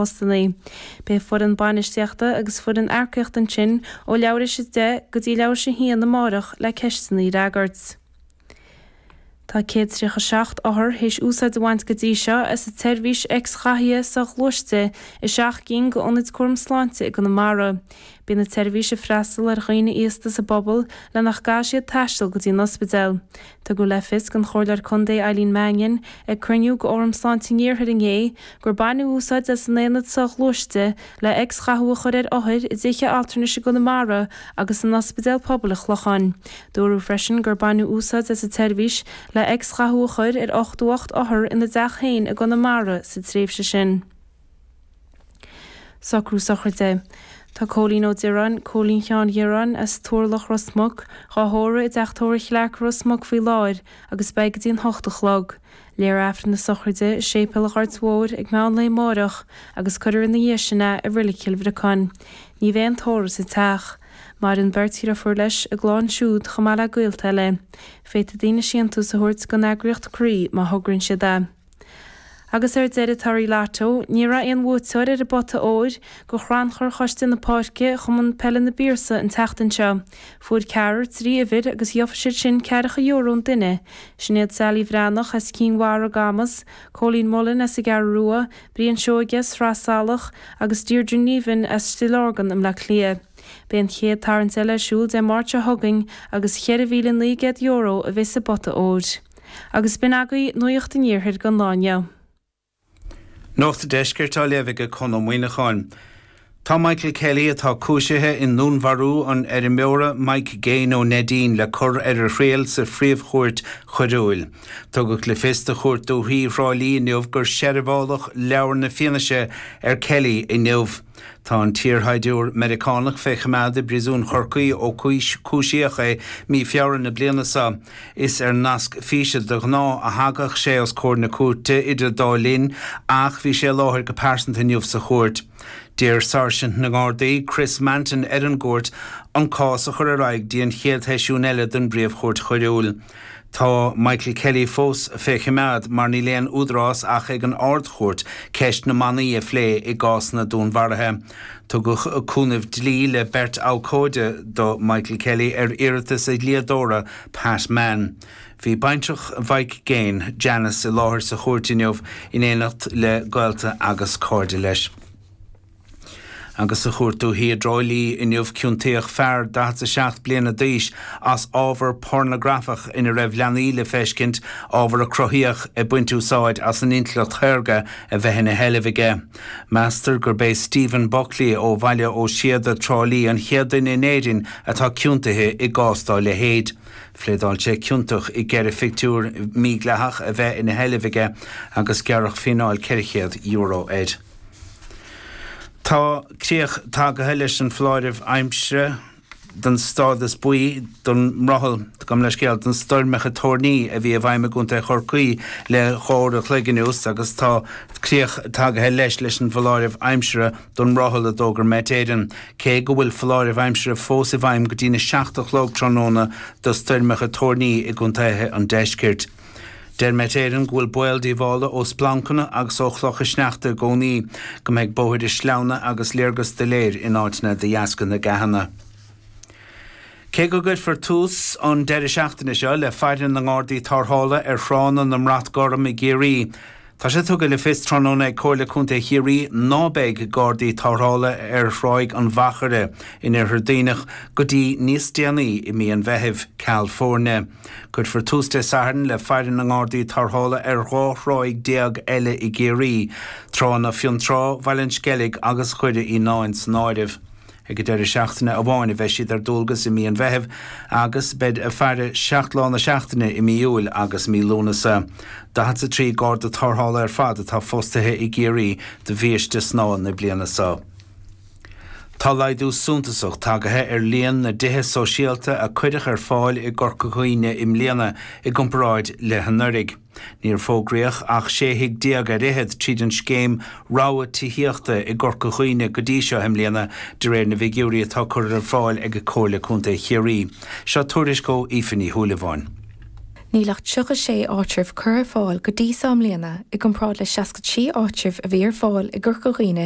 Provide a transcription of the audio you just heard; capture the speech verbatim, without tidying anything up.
postanna. Beidh foireann bainistíochta agus foireann earcaíochta ansin ó leathuair tar éis a deich go dtí leathuair tar éis a haon amárach le ceisteanna a fhreagairt. Tá céad tríocha seacht othar théis úsáid a bhaint go dtí seo as an tseirbhís X-ghathaithe soghluaiste i seacht gcinn d'ionaid cúram sláinte i gConamara. Bíonn an tseirbhís ag freastal ar dhaoine aosta sa bpobal le nach gcaithfidh siad taisteal go dtí an ospidéal. Tugadh le fios don Chomhairleoir Contae Eileen Mannion ag cruinniú d'Fhóram Sláinte an Iarthair inné gur baineadh úsáid as an aonad soghluaiste le X-ghathú a chur ar othair i dtithe altranais i gConamara agus san ospidéal pobail an Chlocháin. Dúradh freisin gur baineadh úsáid as an tseirbhís le X-ghathú a chur ar ochtó ocht othar ina dteach féin i gConamara sa tréimhse sin. Socrú sochraide. Tá Cóilín Ó Direáin, Cóilín Sheáin Dhireáin as Turlach Ros Muc, dhá thórramh i dteach tórraimh Chlarke Ros Muc faoi láthair agus beidh go dtí an hocht a chlog. Léifear Aifreann na sochraide i Séipéal an Ghoirt Mhóir ag meán lae amárach agus cuirfear ina dhiaidh sin é i Reilig Chill Bhriocáin. Ní bheidh aon tórramh sa teach. Maireann beirt dheirfiúr leis, a gclann siúd chomh maith le gaolta eile. Féadfaidh daoine síntiús a thabhairt don eagraíocht Croí má thograíonn siad é. Agus ar deireadh torthaí Lotto, ní raibh aon bhuaiteoir ar an bpota óir do chrannchur Choiste na Páirce Chumann Peile na bPiarsaigh an tseachtain seo. Fuair ceathrar trí uimhir agus gheobhaidh siad sin ceathracha euro an duine. Sin iad Sally Bhreathnach as Cinn Mhara Camas, Colleen Mullen as an gCeathrú Rua, Brian Seoige as Sraith Salach agus Deirdre Neven as Stillorgan i mBleá Cliath. Beidh an chéad tarraingt eile ar siúl Dé Máirt seo chugainn agus ceithre mhíle naoi gcéad euro a bheidh sa bpota óir. Agus b'in agaibh nuacht an iarthair don lá inniu. Nuacht an Deiscirt á léamh ag Conn Ó Muíneacháin. Tá Michael Kelly atá cúisithe i ndúnmharú an fheirmeora Mike Gaine ó Neidín le cur ar a thriail sa phríomhchúirt choiriúil. Tugadh le fios do Chúirt Dúiche Thrá Lí inniu gur seirbheáladh leabhar na fianaise ar Kelly inniu. Tá an t-iarshaighdiúir Meiriceánach fé choimeád i bpríosún Chorcaí ó cúisíodh é mí Feabhra na bliana seo. Is ar nasc físe de ghnáth a thagadh sé os comhair na cúirte idir dá linn ach bhí sé i láthair go pearsanta inniu sa chúirt. D'iarr Sáirsint na nGardaí Chris Manton ar an gcúirt an cás a chur ar aghaidh dtí an chéad sheisiún eile den bpríomhchúirt choiriúil. Tá Michael Kelly fós fé choimeád mar níl aon údarás ach ag an Ard-Chúirt ceist na mbannaí a phlé i gcás na dúnmharuithe. Tugadh cúnamh dlí le beirt abhcóide do Michael Kelly ar iarratas a dhlíodóra Pat Mann. Bhí baintreach Mhike Gaine, Janice i láthair sa chúirt inniu in éineacht le gaolta agus cairde leis. Agus sa chúirt dúiche i dTrá Lí inniu ciontaíodh fear daichead a seacht bliana d'aois as ábhar pornagrafach ina raibh leanaí le feiscint ábhar a cruthaíodh ag baint úsáid as an intleacht shaorga a bheith ina sheilbh aige. Meastar gurb é Stephen Buckley ó Bhaile Ó Síoda Trá Lí an chéad duine in Éirinn atá ciontaithe i gcás dá leithéid. Phléadáil sé ciontach i gceithre phictiúr mídhleathach a bheith ina sheilbh aige agus gearradh fíneáil ceithre chéad euro air. Tá críoch tagaithe leis an foláireamh aimsire den stádas buí don mbrothall gabh mo leithscéal don stoirmeacha toirní a bhí i bhfeidhm i gContae Chorcaí le dhá uair a chloig anuas agus tá críoch tagaithe leis leis an bhfoláireamh aimsire don mbrothall a d'fhógair Met Éireann cé go bhfuil foláireamh aimsire fós i bhfeidhm go dtí na seacht a chlog tráthnóna do stoirmeacha toirní i gcontaetha an deiscirt. Deir Met Éireann go bhfuil baol díobhála ó splancanna agus ó chlocha sneachta i gcónaí, go mbeidh bóithre sleamhna agus léargas doiléir in áiteanna de dheasca na gceathanna. Cé go gcuirfear tús an deireadh seachtaine seo le faire na nGardaí Tarrthála ar thránna na mBrat Gorm i gCiarraí, tá sé tugtha le fios tráthnóna ag Comhairle Contae Chiarraí ná beidh Gardaí Tarrthála ar Thráigh an Mhachaire in Iarthar Duibhneach go dtí níos déanaí i mí an Mheithimh, ceal foirne. Cuirfear tús Dé Sathairn le faire na nGardaí Tarrthála ar dhá thráigh déag eile i gCiarraí, tránna Fionntrá, Bhaile an Sceilg agus Dhoire Fhíonáin san áireamh. Ag an deireadh seachtaine amháin a bheidh siad ar dualgas i mí an Mheithimh agus beidh ag faire seacht lá na seachtaine i mí Iúil agus mí Lúnasa. Daichead a trí Garda Tarrthála ar fad atá fostaithe i gCiarraí do bhiaiste snámha na bliana seo. Tá laghdú suntasach tagaithe ar líon na dtithe sóisialta a cuireadh ar fáil i gCorca Dhuibhne i mbliana i gcomparáid le hanuraidh. Níor fógraíodh ach sé thigh déag ar fhichead tríd an scéim rogha tithíochta i gCorca Dhuibhne go dtí seo i mbliana de réir na bhfigiúirí atá curtha ar fáil ag Comhairle Contae Chiarraí. Seo tuairisc ó Aoife Ní Shúilleabháin. Níl ach tríocha sé áitreabh curtha ar fáil go dtí seo i mbliana i gcomparáid le seasca trí áitreabh a bhí ar fáil i gCorca Dhuibhne